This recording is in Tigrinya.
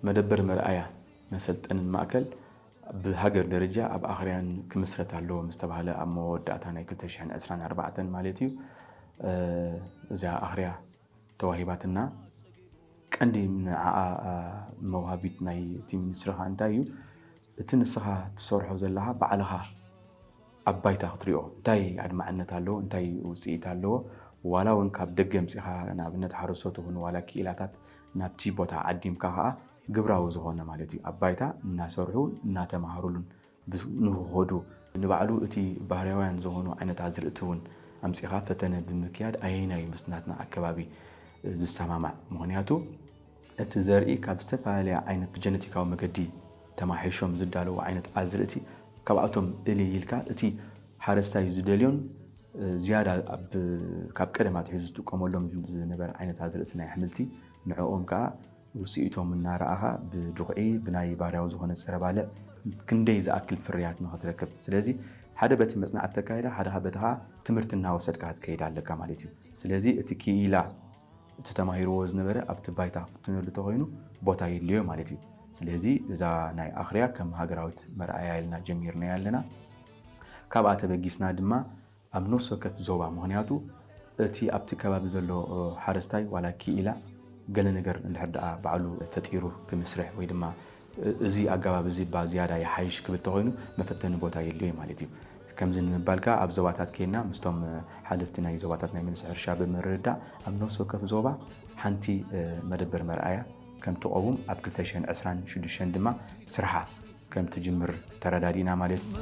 መደበር መርኣያ መሰልጠንን ማእከል ብሃገር ደረጃ ኣብ ኣኽርያን ክምስረት ኣለዎ ምስ ተባህለ ኣብ መወዳእታ ናይ ክልተ ሽሕን ዕስራን ኣርባዕተን ማለት እዩ። እዛ ኣኽርያ ተዋሂባትና። ቀንዲ ንዓኣ መውሃቢት ናይ እቲ ሚኒስትሪ ኸኣ እንታይ እዩ? እቲ ንስኻ ትሰርሖ ዘለኻ ባዕልኻ ኣብ ባይታ ክትሪኦ እንታይ ኣድማዕነት ኣለዎ፣ እንታይ ውፅኢት ኣለዎ፣ ዋላ እውን ካብ ደገ ምፂኻ ንኣብነት ሓረስቶት ይኹን ዋላ ክኢላታት ናብቲ ቦታ ዓዲምካ ኸዓ ግብራዊ ዝኾነ ማለት እዩ ኣብ ባይታ እናሰርሑ እናተምሃሩሉን ንክኸዱ ንባዕሉ እቲ ባህርያውያን ዝኾኑ ዓይነት ኣዝርእቲ እውን ኣምፂኻ ፈተነ ብምክያድ ኣየናይ እዩ ምስ ናትና ኣከባቢ ዝሰማማዕ? ምኽንያቱ እቲ ዘርኢ ካብ ዝተፈላለያ ዓይነት ብጀነቲካዊ መገዲ ተማሒሾም ዝዳለዉ ዓይነት ኣዝርእቲ ካብኣቶም እልይ ኢልካ እቲ ሓረስታይ ዝደልዮን ዝያዳ ካብ ቀደም ኣትሒዙ ዝጥቀመሎም ዝነበረ ዓይነት ኣዝርእቲ ናይ ኣሕምልቲ ንዕኦም ከዓ ውፅኢቶም እናረኣኻ ብድኹዒ ብናይ ባህርያዊ ዝኾነ ፀረ ባልዕ ክንደይ ዝኣክል ፍርያት ንኽትረክብ። ስለዚ ሓደ በቲ መፅናዕቲ ተካይዳ ሓደ በቲ ከዓ ትምህርቲ እናወሰድካ ክትከይድ ኣለካ ማለት እዩ። ስለዚ እቲ ክኢላ እቲ ተማሂርዎ ዝነበረ ኣብቲ ባይታ ክፍትነሉ ተኮይኑ ቦታ የድልዮ ማለት እዩ። ስለዚ እዛ ናይ ኣኽርያ ከም ሃገራዊት መርኣያ ኢልና ጀሚርናያ ኣለና። ካብኣ ተበጊስና ድማ ኣብ ነፍሲ ወከፍ ዞባ፣ ምኽንያቱ እቲ ኣብቲ ከባቢ ዘሎ ሓረስታይ ዋላ ክኢላ ገለ ነገር እንድሕር ደኣ ባዕሉ ፈጢሩ ክምስርሕ ወይ ድማ እዚ ኣገባብ እዚ እባ ዝያዳ ይሓይሽ ክብል ተኾይኑ መፈተኒ ቦታ የድልዮ ማለት እዩ። ከምዚ ንምባልካ ኣብ ዞባታት ኬንና ምስቶም ሓለፍቲ ናይ ዞባታት ናይ መልሲ ሕርሻ ብምርድዳእ ኣብ ነፍሲ ወከፍ ዞባ ሓንቲ መደበር መርኣያ ከም ትቐውም ኣብ ክልተ ሽሕን ዕስራን ሽዱሽተን ድማ ስርሓ ከም ትጅምር ተረዳዲእና ማለት እዩ።